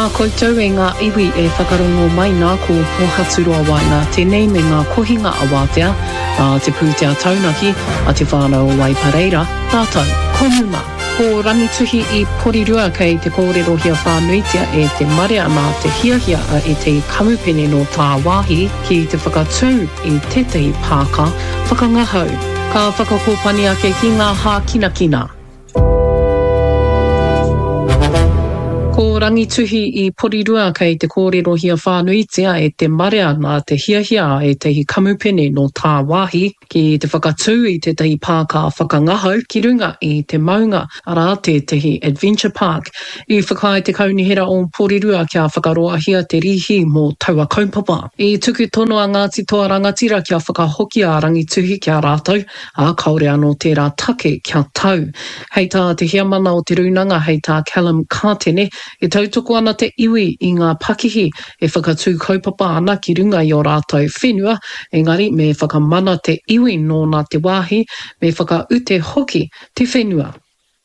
Tēnā koutou e ngā iwi e whakarongo mai nā ko Pohaturoa Waenga tēnei me ngā kohinga awātea a te pūtea taunaki a te whānau o Waipareira rātou ko Muma. Ko Rangituhi i Porirua kei te kōrerohia whānuitia e te marea nā te hiahia a ētahi kamupene nō tāwāhi ki te whakatū i tētahi pāka whakangahau. Ka whakakōpani ake ki ngā hākinakina. Ko Rangituhi i Porirua kei te kōrerohia whānuitia e te marea nā te hiahia a ētahi kamupene nō tāwāhi ki te whakatū i tētahi pāka whakangahau ki runga i te maunga, arā, tētahi adventure park. I whakaae te Kaunihera o Porirua kia whakaroahia te rīhi mō taua kaupapa. I tuku tono a Ngāti Toa Rangatira kia whakahokia a Rangituhi ki a rātou, ā, kāore anō tērā take kia tau. Hei tā te heamana o te rūnanga, hei tā Callum Kātene, e tautoko ana te iwi i ngā pakihi e whakatū kaupapa ana ki runga i ō rātou whenua, engari me whakamana te iwi nōna te wāhi, me whakaute hoki te whenua.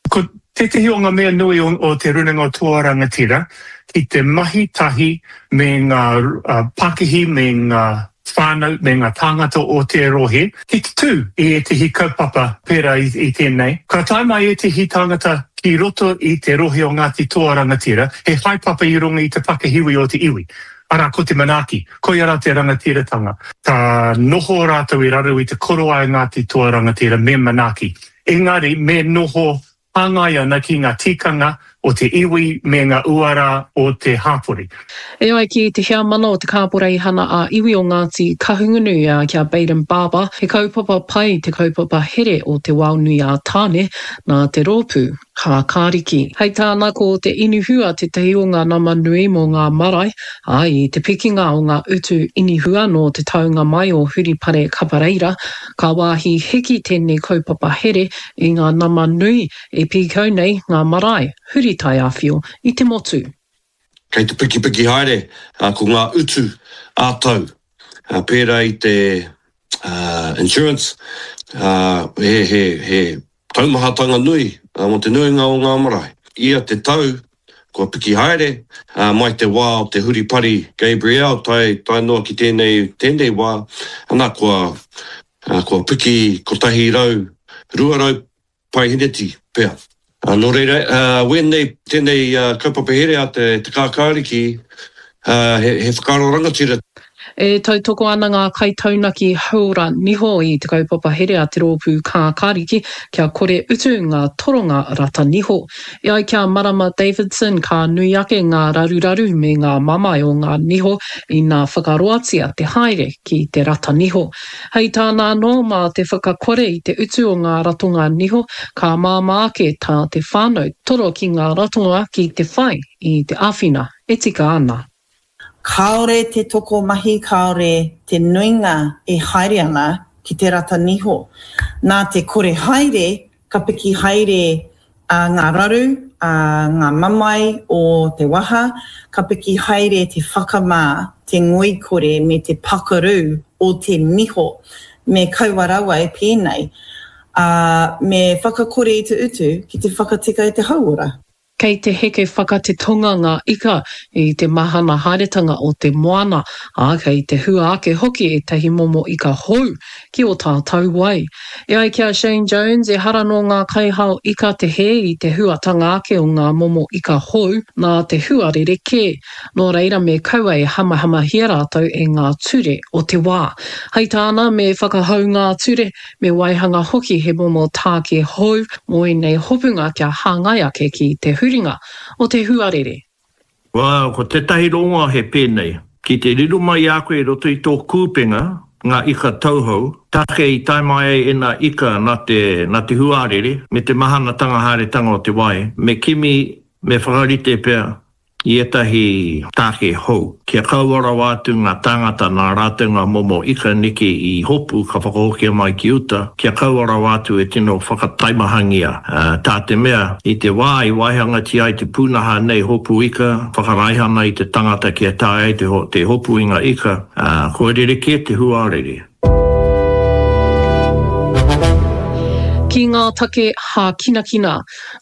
Ko tētehi o ngā mea nui o Te Rūnanga o Toa Rangatira ki te mahi tahi me ngā pakihi me ngā whānau me ngā tāngata o te rohe ki te tū i ētehi kaupapa pērā i tēnei. Ka tae mai ētehi tāngata ki roto i te rohe o Ngāti Toa Rangatira, he haepapa i runga i te pakihiwi o te iwi, arā ko te manaaki, koia rā te rangatiratanga. Ka noho rātou i raro i te korowai o Ngāti Toa Rangatira me manaaki. Engari me noho hāngai ana ki ngā tikanga o te iwi me ngā uara o te hāpori. E ai ki te heamana o te Kāporeihana ā-Iwi o Ngāti Kahungunu, ki a Bayden Barber, he kaupapa pai te kaupapa here o Te Waonui-ā-Tāne nā te rōpū Kākāriki. Hei tāna, ko te inihua tētahi o ngā nama nui mō ngā marae, ā, i te pikinga o ngā utu inihua nō te taunga mai o Huripare Kapareira, Ka wāhi hiki tēnei kaupapa here i ngā nama nui e pīkau nei ngā marae huri taiāwhio i te motu. Kei te pikipiki haere ko ngā utu ā-tau, pērā i te insurance, he taumahatanga nui mō te nuinga o ngā marae. Ia te tau, kua piki haere, mai te wā o te huripari Gabrielle tae, tae noa ki tēnei, tēnei wā, ana, kua, kua piki 100, 200 paeheneti pea. Nō reira, wēnei, tēnei kaupapa here a te, te kākāriki, he, he whakaaro rangatira. E tautoko ana ngā kaitaunaki hauora niho i te kaupapa here a te Rōpū Kākāriki kia kore utu ngā toronga rata niho. E ai ki a Marama Davidson ka nui ake ngā raruraru me ngā mamae o ngā niho ina whakaroatia te haere ki te rata niho. Hei tāna anō, mā te whakakore i te utu o ngā ratonga niho ka māmā ake tā te whānau toro ki ngā ratonga ki te whai i te āwhina e tika ana. Kāore te tokomahi, kāore te nuinga e haere ana ki te rata niho. Nā te kore haere, ka piki haere ngā raru, ngā mamae o te waha, ka piki haere te whakamā, te ngoikore me te pakaru o te niho. Me kaua rawa e pēnei, ā, me whakakore i te utu ki te whakatika i te hauora. Kei te heke whakatetonga ngā ika i te mahana haeretanga o te moana, ā, kei te hua ake hoki ētahi momo ika hou ki ō tātou wai. E ai ki a Shane Jones, ehara nō ngā kaihao ika te hē i te huatanga ake o ngā momo ika hou nā te huarere kē. Nō reira me kaua e hamahamahia rātou e ngā ture o te wā. Hei tāna, me whakahou ngā ture, Me waihanga hoki he momo tāke hou mō ēnei hopunga kia hāngai ake ki te huringa o te huarere. Well, ko tētahi rongoa he pēnei, ki te riro mai i a koe i roto i tō kūpenga ngā ika tauhou, take i tae mai ai ēnā ika nā te, nā te huarere me te mahanatanga haeretanga o te wai, me kimi, me whakarite pea i ētahi tāke hou, kia kaua rawa atu ngā tāngata nā rātou ngā momo ika neke i hopu ka whakahokia mai ki uta, kia kaua rawa atu e tino whakataimahangia, tā te mea, i te wā i waihangatia ai te pūnaha nei hopu ika, whakaraihana i te tangata kia taea ai te hopu i ngā ika, kua rerekē te huarere. Ki ngā take hākinakina,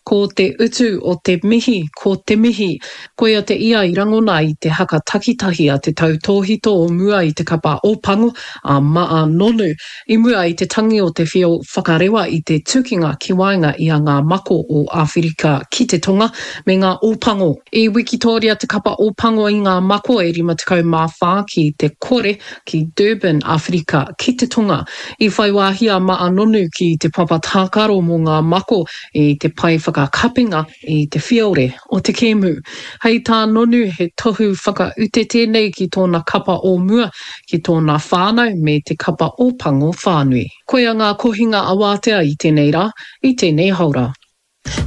ko te utu o te mihi ko te mihi. Koia te ia i rangona i te haka takitahi a te tautōhito o mua i te kapa Ōpango, a Ma'a Nonu, i mua i te tangi o te whio whakarewa i te tukinga ki waenga i a Ngā Mako o Āwherika ki te Tonga me ngā Ōpango. I wikitōria te kapa Ōpango i Ngā Mako e 54 ki te kore ki Durban, Āwherika ki te Tonga. I whai wāhi a Ma'a Nonu ki te papa tākaro mō Ngā Mako i te pae whakakapinga i te whiore o te kēmu. Hei tā Nonu he tohu whakaute tēnei ki tōna kapa o mua, ki tōna whānau me te kapa Ōpango whānui. Koia ngā kohinga awātea i tēnei rā, i tēnei haora.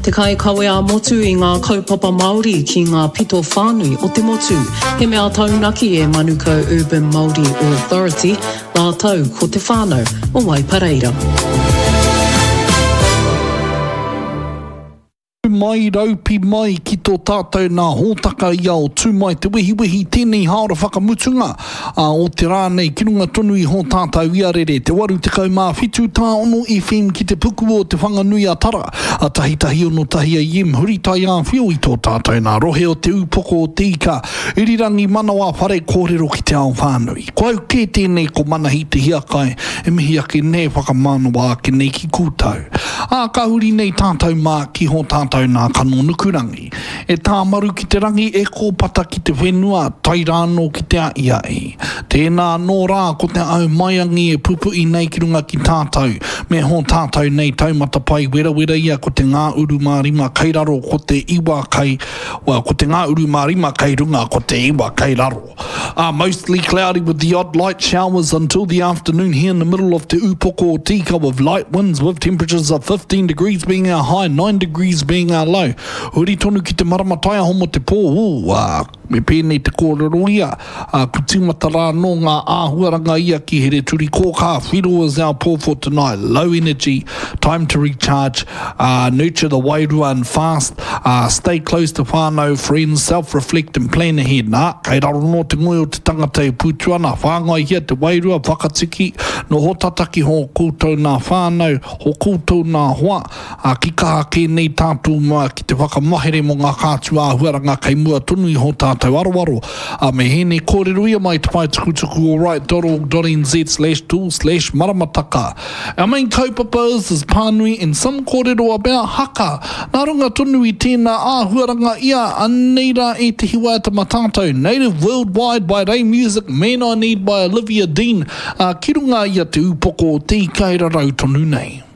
Te kaikawe ā-motu i ngā kaupapa Māori ki ngā pito whānui o te motu. He mea taunaki e Manukau Urban Māori Authority rātou ko te whānau o Waipareira. Mai, raupi mai ki tō tātou nā hōtaka i ao tū mai te wehiwehi tēnei hāora whakamutunga ā, o te rā nei ki runga tonu i hō tātou iarere te 87 tāono FM ki te puku o Te Whanganui a Tara a tahitahi ono tahi AM huri taiāwhio i tō tātou nā rohe o Te Ūpoko o Te Ika Irirangi Manawa Whare Kōrero ki te ao whānui. Ko au kē tēnei ko Manahi Te Hiakai e mihi ake nei e whakamānawa ake nei ki koutou. Ā, ka huri nei tātou mā ki hō tātou nā kano nukurangi. E tāmaru ki te rangi, e kōpata ki te whenua, tae rānō ki te aʻiaʻi. Tēnā anō rā ko te au maiangi e pupuʻi nei ki runga ki tātou, me hō tātou nei taumata pae werawera ia ko te ngā uru mā rima kei raro ko te iwa kei, well, ko te ngā uru mā rima kei runga ko te iwa kei raro. Ā, mostly cloudy with the odd light showers until the afternoon here in the middle of Te Ūpoko o Te Ika with light winds with temperatures of 15 degrees being our high, 9 degrees being our low. Huri tonu ki te marama taiaho mo te pō, ū, ā, me pēnei te kōrero ia, ā, ku tīmata rā anō ngā āhuaranga ia ki Hereturikōkā, Whiro is our pō for tonight, low energy, time to recharge, ā, nurture the wairua and fast, ā, stay close to whānau, friends, self-reflect and plan ahead, nā, kei raro nō te ngoi o te tangata e pūtu ana, whāngaihia te wairua, whakatiki, noho tata ki hō koutou nā whānau, hō koutou nā hoa, ā, ki kaha kē nei tātou mā ki te whakamahere mō ngā kātū āhuaranga kei mua tonu i hō tātou aroaro, ā, me hēnei kōrero ia mai te pae tukutuku o right.org.nz slash tool slash maramataka. Our main kaupapa is is pānui and some kōrero about haka. Nā runga tonu i tēnā āhuaranga ia, anei rā ētehi waiata mā tātou, Native Worldwide by Ray Music, Man I Need by Olivia Dean, ā, ki runga i a Te Ūpoko o Te Ika e rarau tonu nei.